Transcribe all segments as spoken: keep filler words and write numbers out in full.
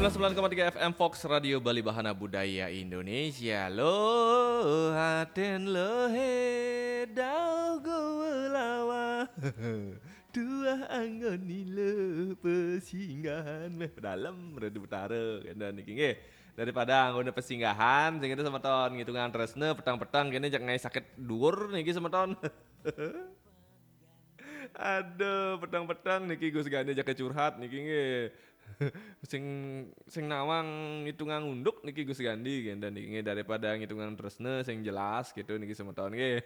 sembilan koma tiga F M Fox Radio Bali, Bahana Budaya Indonesia. Lo haten lo he dau go lawa. Tuah anggon nilo pesinggahan meh dalam Radu Betara kena niki nggih. Daripada anggona pesinggahan sing itu semeton ngitungan tresna petang-petang kene jak ngai sakit dhuwur niki semeton. Aduh, petang-petang niki Gus Gani jak curhat niki nggih. Sing sing nawang ngitungan unduk niki Gus Gani kene niki nggih, daripada ngitungan tresna sing jelas gitu niki semeton nggih.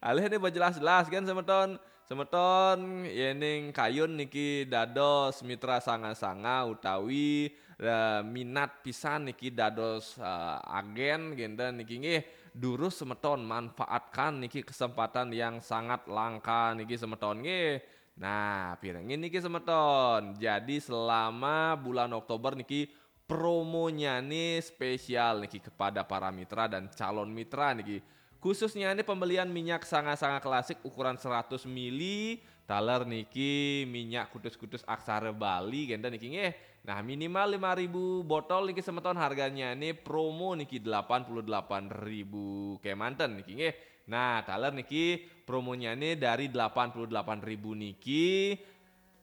Alih ini jelas-jelas kan semeton. Semeton yening kayun niki dados mitra sanga-sanga utawi eh, minat pisan niki dados eh, agen genten niki nggih. Durus semeton manfaatkan niki kesempatan yang sangat langka niki semeton nggih. Nah, pirengin niki semeton. Jadi selama bulan Oktober niki promonya nih spesial niki kepada para mitra dan calon mitra niki. Khususnya ini pembelian minyak sanga-sanga klasik ukuran seratus mili, taler niki minyak kutus-kutus Aksara Bali genten niki nggih. Nah, minimal lima ribu botol niki semeton, harganya ini promo niki delapan puluh delapan ribu kemanten niki nggih. Nah, taler niki promonya ini dari delapan puluh delapan ribu niki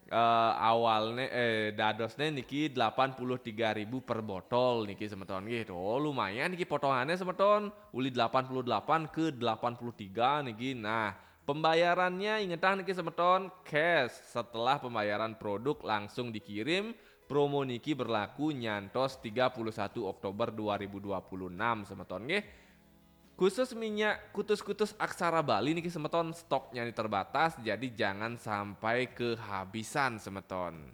eh, awalne eh dadosne niki delapan puluh tiga ribu per botol niki semeton nggih. Tuh, lumayan niki potongannya semeton, uli delapan puluh delapan ke delapan puluh tiga niki. Nah, pembayarannya ingetah niki semeton cash, setelah pembayaran produk langsung dikirim. Promo niki berlaku nyantos tiga puluh satu Oktober dua ribu dua puluh enam semeton nggih. Khusus minyak kutus-kutus Aksara Bali niki semeton, stoknya ini terbatas, jadi jangan sampai kehabisan semeton.